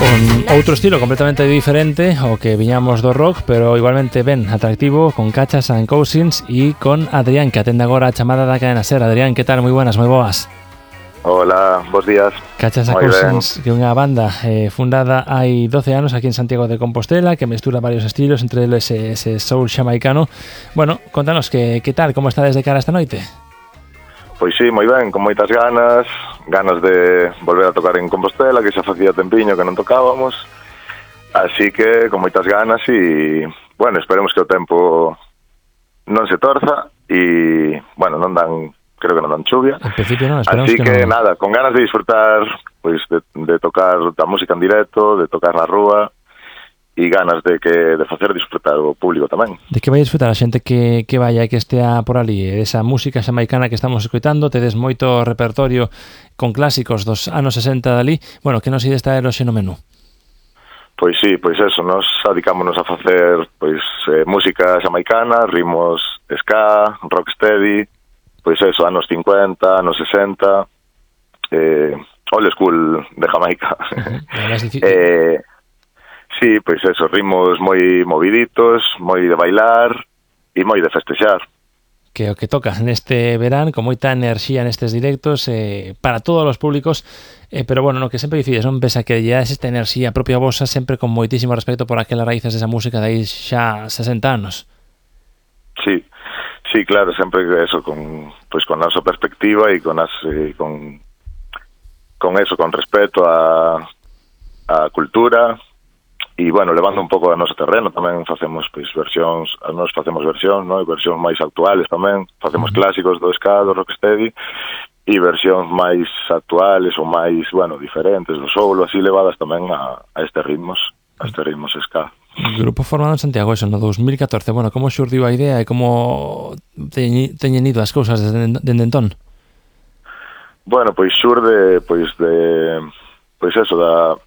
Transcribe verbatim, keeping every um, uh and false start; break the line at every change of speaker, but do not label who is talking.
con outro estilo completamente diferente ao que viñamos do rock, pero igualmente ben atractivo, con Cachas and Cousins e con Adrián, que atende agora a chamada da cadena SER. Adrián, que tal? Moi buenas, moi boas.
Hola, bons días.
Cachas and Cousins, que é unha banda eh, fundada hai doce anos aquí en Santiago de Compostela, que mestura varios estilos, entre eles ese, ese soul xamaicano. Bueno, contanos, que, que tal, como está desde cara esta noite?
Pois sí, moi ben, con moitas ganas, ganas de volver a tocar en Compostela, que xa facía tempiño que non tocábamos, así que con moitas ganas e, bueno, esperemos que o tempo non se torza e, bueno, non dan, creo que non dan chuvia,
en principio non, esperamos
así
que,
que,
que non.
nada, con ganas de disfrutar pois de, de tocar a música en directo, de tocar na rúa, e ganas de que de facer disfrutar o público tamén.
De que vai disfrutar a xente que, que vaya e que estea por ali, esa música xamaicana que estamos escoitando? Tedes moito repertorio con clásicos dos anos sesenta dali. Bueno, que nos ides traer hoxe no menú?
Pois sí, pois eso, nos dedicámonos a facer pois eh, música xamaicana, ritmos ska, rocksteady, pois eso, anos cincuenta, anos sesenta, eh, old school de Jamaica.
Uh-huh.
eh, Sí, pois eso, ritmos moi moviditos, moi de bailar e moi de festexar.
Que o que toca neste verán, con moita enerxía nestes directos, eh, para todos os públicos, eh, pero bueno, no que sempre dicides, non? Pese a que ya es esta enerxía propia vosa, sempre con moitísimo respeto por aquelas raíces desa música de aí xa sesenta anos.
Sí, sí, claro, sempre eso, con, pois con a nosa perspectiva e con, as, eh, con, con eso, con respeto a, a cultura. E, bueno, levando un pouco a noso terreno, tamén facemos, pois, versións, nós facemos versións, non? Versións máis actuales tamén, facemos uh-huh. clásicos do ska, do rocksteady, e versións máis actuales ou máis, bueno, diferentes do soul, así levadas tamén a, a estes ritmos, a estes ritmos ska.
Grupo formado en Santiago, eso, no dos mil catorce. Bueno, como xurdiu a idea e como teñen, teñen ido as cousas desde, desde entón?
Bueno, pois xurde, pois, de... pois eso, da...